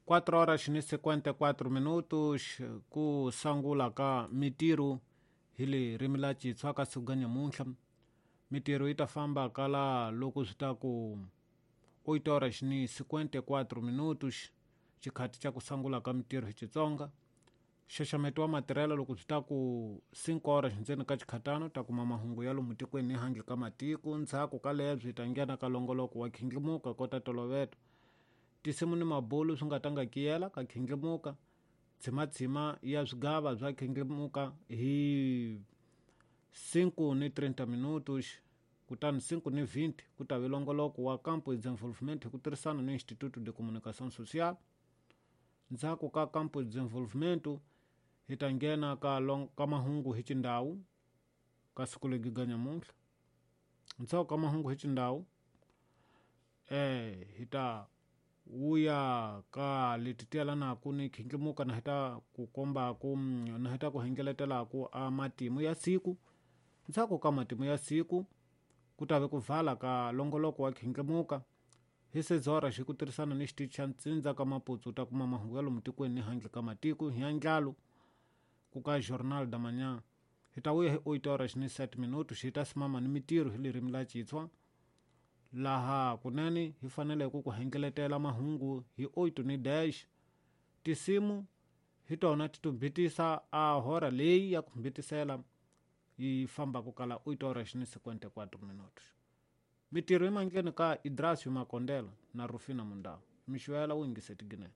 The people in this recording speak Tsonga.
4 horas ni 54 minutos ku sangula ka mitirho hi le ririmi la Xitswa ka siku ga nyamuntlha. Mitirho yi ta famba kala loko swi ta ku 8 horas ni 54 minutos xikhati xa ku sangula ka mitirho hi Xitsonga. Nxaxameto wa matirhelo loko swi ta ku 5 horas ndzeni ka xikhatano ta kuma mahungu ya lomu tikweni ni handle ka matiko. Ndzhaku ka lebyi hi ta nghena ka longoloko wa khindlimuka kota toloveto. Tinsimu ni mabulu swi nga ta nga kiyela ka khindlimuka. Tshimatshima ya swigava bya khindlimuka hi 5 ni 30 minutos kutani 5 ni 20 ku ta vi longoloko wa Campo de Desenvolvimento hi ku tirhisana ni Instituto de Comunicação Social. Ndzhaku ka Campo de Desenvolvimento hi ta nghena ka long, ka mahungu hi xindhawu ka siku legi ga nyamuntlha. Ndzhaku ka mahungu hi xindhawu hi ta wuya ka leti ti yelanaku ni khindlimuka na hi ta ku kombaku na hi ta ku hengeletelaku a matimu ya siku. Ndzhaku ka matimu ya siku ku ta ve ku vala ka longoloko wa khindlimuka hi sezora xi ku tirhisana ni xitichi xa ntsindza ka Maputsu ta kuma mahungu ya lomu tikweni ni handle ka matiko hi andlalo ku ka Journal da Manhã. Hi ta vuya hi 8 horas ni 7 minutos hi ta simama ni mitirho hi ririmi la Xitswa laha kunene hi fanele ku ku hengeletela mahungu hi 8 ni dash. Tinsimu hi tona ti tumbitisa a hora leyi ya ku mbitisela yi famba ku kala 8 horas ni 54 minutos. Mitirho yi mandleni ka Idrasio Makondela na Rufina Mundau. Mixwela wu yingise tiginene.